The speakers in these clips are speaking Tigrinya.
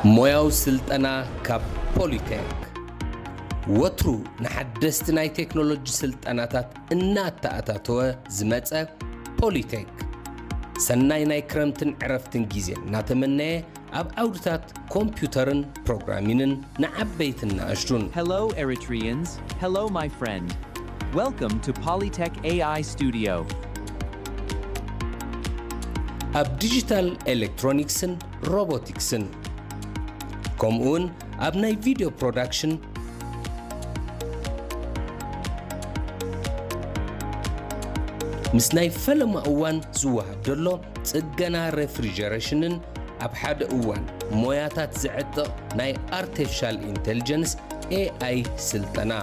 ሞያዊ ስልጠና ካብ ፖሊቴክ። ወትሩ ንሓደስቲ ናይ ቴክኖሎጂ ስልጠናታት እናተኣታተወ ዝመጸ ፖሊቴክ፣ ሰናይ ናይ ክረምትን ዕረፍትን ግዜ እናተመነየ፣ ኣብ ዓውድታት ኮምፒውተርን ፕሮግራሚንን ንዓበይትን ንኣሽቱን። Hello, Eritreans. Hello, my friend. Welcome to Polytech A I Studio. ኣብ ዲጂታል ኤሌክትሮኒክስን ሮቦቲክስን፣ ከምኡውን ኣብ ናይ ቪድዮ ፕሮዳክሽን፣ ምስ ናይ ፈለማ እዋን ዝወሃብ ዘሎ ጽገና ሬፍሪጀሬሽንን፣ ኣብ ሓደ እዋን ሞያታት ዘዕጥቕ ናይ ኣርቲፊሻል ኢንተሊጀንስ፣ ኤ ኣይ፣ ስልጠና።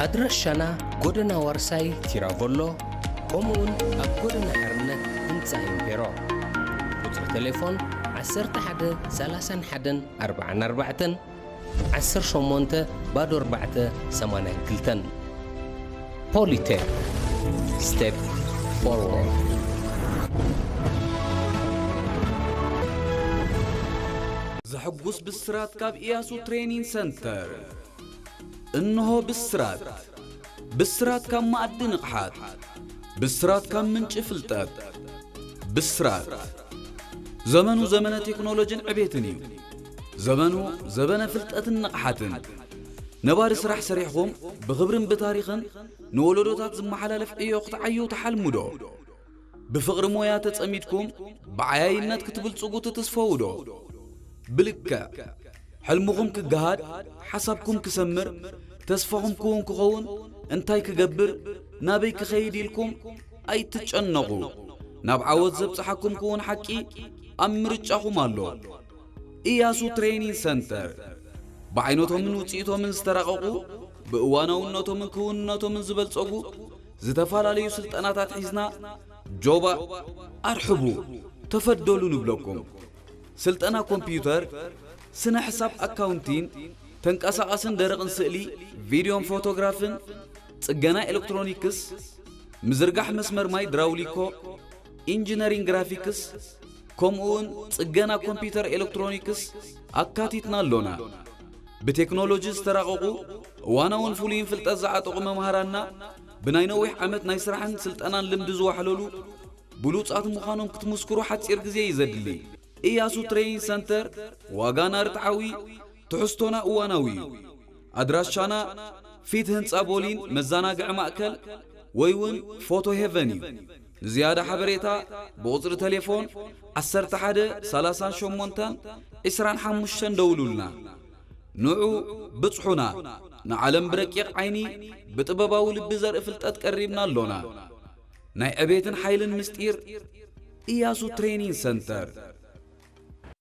ኣድራሻና ጎደና ዋርሳይ ቲራቮሎ፣ ከምኡውን ኣብ ጎደና ሓርነት ህንፃ ኢምፔሮ። ቁፅሪ ቴሌፎን ዓሰርተ ሓደ ሰላሳን ሓደን ኣርባዓን ኣርባዕተን፣ ዓሰርተ ሸሞንተ ባዶ ኣርባዕተ ሰማንያን ክልተን። ፖሊቴክ፣ ስቴፕ ፎርወርድ። ዘሐጉስ ብስራት ካብ ኢያሱ ትሬኒንግ ሰንተር። እንሆ ብስራት። ብስራት ካብ መኣዲ ንቕሓት። ብስራት ካብ ምንጪ ፍልጠት። ብስራት። ዘመኑ ዘመነ ቴክኖሎጂን ዕቤትን እዩ። ዘመኑ ዘበነ ፍልጠትን ንቕሓትን። ነባሪ ስራሕ ሰሪሕኹም ብኽብርን ብታሪኽን ንወለዶታት ዝመሓላለፍ ዕዮ ክትዓዩ ትሓልሙ ዶ? ብፍቕሪ ሞያ ተጸሚድኩም ብዓያይነት ክትብልጽጉ ትትስፈዉ ዶ? ብልክዕ ሕልምኹም ክገሃድ፣ ሓሳብኩም ክሰምር፣ ተስፋኹም ክውን ክኸውን፣ እንታይ ክገብር፣ ናበይ ክኸይድ ኢልኩም ኣይትጨነቑ። ናብ ዓወት ዘብጽሓኩም ክውን ሓቂ ኣብ ምርጫኹም ኣሎ። ኢያሱ ትሬኒንግ ሰንተር ብዓይነቶምን ውጽኢቶምን ዝተራቐቑ፣ ብእዋናውነቶምን ክውንነቶምን ዝበልጸጉ ዝተፈላለዩ ስልጠናታት ሒዝና፣ ጆባ ኣርሕቡ፣ ተፈደሉ ንብለኩም። ስልጠና ኮምፒውተር፣ ስነ ሕሳብ፣ ኣካውንቲን፣ ተንቀሳቓስን ደረቕን ስእሊ፣ ቪድዮን ፎቶግራፍን፣ ጽገና ኤሌክትሮኒክስ፣ ምዝርጋሕ መስመር ማይ ድራውሊኮ፣ ኢንጂነሪንግ ግራፊክስ፣ ከምኡውን ጽገና ኮምፒውተር ኤሌክትሮኒክስ ኣካቲትና ኣሎና። ብቴክኖሎጂ ዝተራቐቑ፣ እዋናውን ፍሉይን ፍልጠት ዝዓጠቑ መምሃራንና፣ ብናይ ነዊሕ ዓመት ናይ ስራሕን ስልጠናን ልምዲ ዝዋሕለሉ ብሉጻት ምዃኖም ክትምስክሩ ሓጺር ግዜ እዩ ዘድሊ። ኢያሱ ትሬኒንግ ሰንተር፣ ዋጋና ርትዓዊ፣ ትሕዝቶና እዋናዊ እዩ። ኣድራሻና ፊት ህንጻ ቦሊን መዘናግዒ ማእከል ወይ እውን ፎቶ ሄቨን እዩ። ንዝያዳ ሓበሬታ ብቑጽሪ ቴሌፎን ዓሰርተ ሓደ ሰላሳን ሸሞንተን ዕስራን ሓሙሽተን ደውሉልና። ንዑ ብጽሑና፣ ንዓለም ብረቂቕ ዓይኒ ብጥበባዊ ልቢ ዘርኢ ፍልጠት ቀሪብና ኣሎና። ናይ ዕቤትን ሓይልን ምስጢር ኢያሱ ትሬኒንግ ሰንተር።